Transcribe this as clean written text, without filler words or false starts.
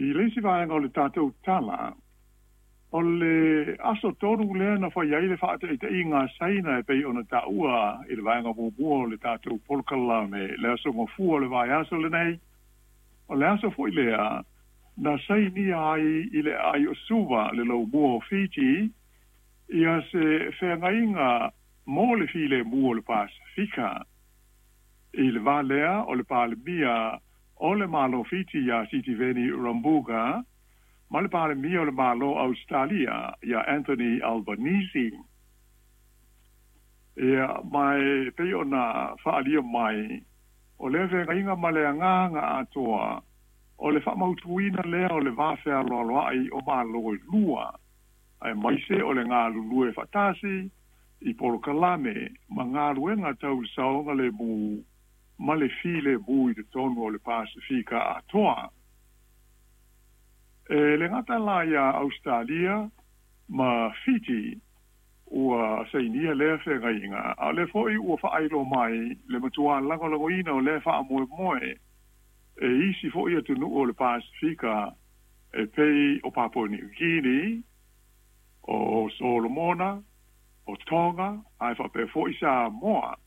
I le isi vaega o le tatou tala, o le aso 3 lea na fai ai le faataitaiga a Saina e pei ona taua i le vaega muamua o le tatou polokalame, le aso Gafua o le vaiaso lenei. O le aso foi lea na sainia ai i le aai o Suva le laumua o Fiti ia se feagaiga mo le filemu o le Pasefika. I le va lea o le Palemia o le Malo Fiti iā Sitiveni Rabuka ma le Palemia o le Malo Ausetalia iā Anthony Albanese. Ia, ma e pei ona faaalia mai, o lea feagaiga ma le agaga atoa o le faamautuina lea o le va fealoaloai o Malo e lua, aemaise o le galulue faatasi i polokalame ma galuega tau le saogalemu ma le filemu i totonu o le Pasefika atoa. E le gata la iā Ausetalia ma Fiti ua sainia lea feagaiga, a o lea foi ua faailoa mai le matuā lagolagoina o lea faamoemoe e isi foi atunuu o le Pasefika e pei o Papua Niu Kini, o Solomona, o Tonga, ae faapea foi Samoa.